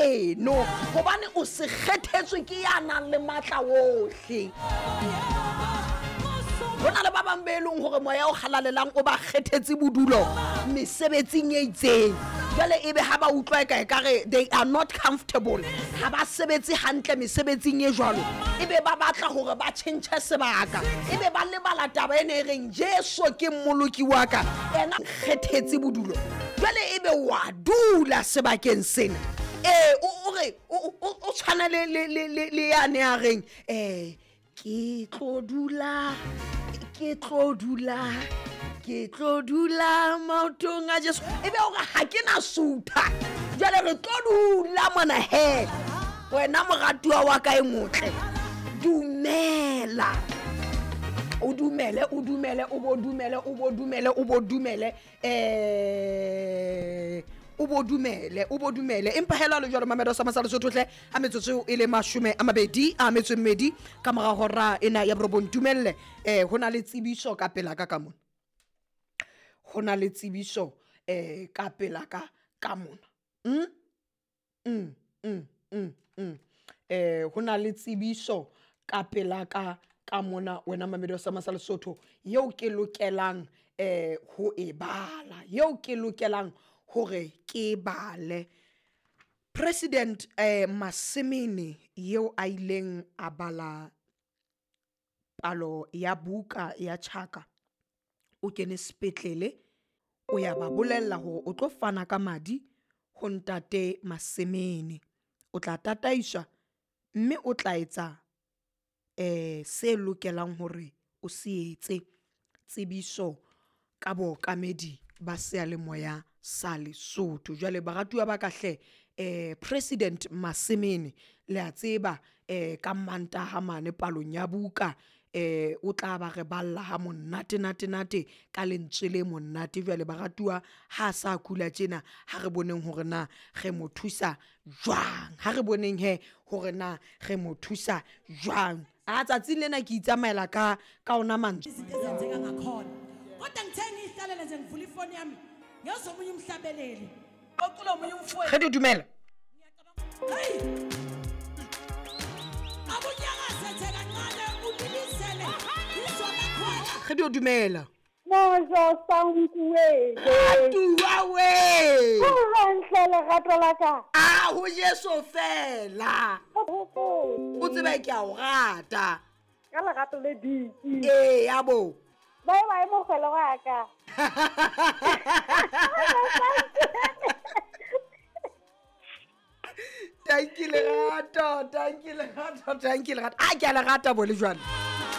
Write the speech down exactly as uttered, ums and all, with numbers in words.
heno hobane o se kgethetswe ke ya nang le matla ohle. Ho na le ba bang be leng hore moya o halalelang o ba kgethetse bodulo mesebetsing e itseng. Jwale ebe ha ba utlwa e ka ekare they are not comfortable, ha ba sebetse hantle mesebetsing e jwalo, ebe ba batla hore ba tjhentjhe sebaka, ebe ba lebala taba ena e reng Jesu ke mmoloki wa ka, ena kgethetse bodulo. Jwale ebe wa dula sebakeng sena. Eh o re o tshwana le le le le yane ya reng eh ke tlo dula, ke tlo dula, ke tlo dula maotong a Jesu. Ebe hore ha ke na sutha, jwale re tlo dula mona he. Wena moratuwa wa ka e motle, dumela, o dumele, o dumele, o bo dumele, o bo dumele, o bo dumele, eh o bo dumele, o bo dumele. Empa hela le jwalo Mamedo sa Masala Sotho hle, ha metsotso e le mashome a mabedi a metso e mmedi ka mora hora ena ya borobong. Dumelle, eh ho na le tsebiso ka pela ka ka mona, ho na le tsebiso eh ka pela ka ka mona. Mm mm mm mm mm eh ho na le tsebiso ka pela ka ka mona wena Mamedo sa Masala Sotho, yeo ke lokelang eh ho e bala, yeo ke lokelang hore ke bale. President eh Masemene yeo a ileng a bala palo ya buka ya Chaka, o kene sepetlele, o ya ba bolella hore o tlo fana ka madi ho ntate Masemene, o tla tataiswa mme o tla etsa eh se lokelang hore o se etse. Tsebiso ka bookamedi ba seyalemoya sa Lesotho. Jwale baratuwa ba ka hle, eh President Masemene le a tseba eh ka Mantaha mane palong ya buka eh o tla ba re balla ha monate nate nate ka lentswe le monate. Jwale baratuwa ha sa kula tjena, ha re boneng hore na re mo thusa jwang, ha re boneng he hore na re mo thusa jwang. A tsatsing lena ke itsamaela ka ka ona mantswe. Izinto ezenzeka ngakhona. Kodwa ngithe ngihlalele nje ngivula ifoni yami ngezomunye umhlabeleli ocula omunye umfowethu. Re di dumela. Hey! Abunyakaze nje kancane ubilizele izwa lakhona. Re di dumela. Mojo sankuwe. Atuwa we. Hantle lerato la ka. A ho Jesu fela. O tsebe ke a o rata. Ka lerato le diki. Eh ya bo. Bye bye mogolo wa ka. Thank you lerato, thank you lerato, thank you lerato. A ke a le rata bo le jwale.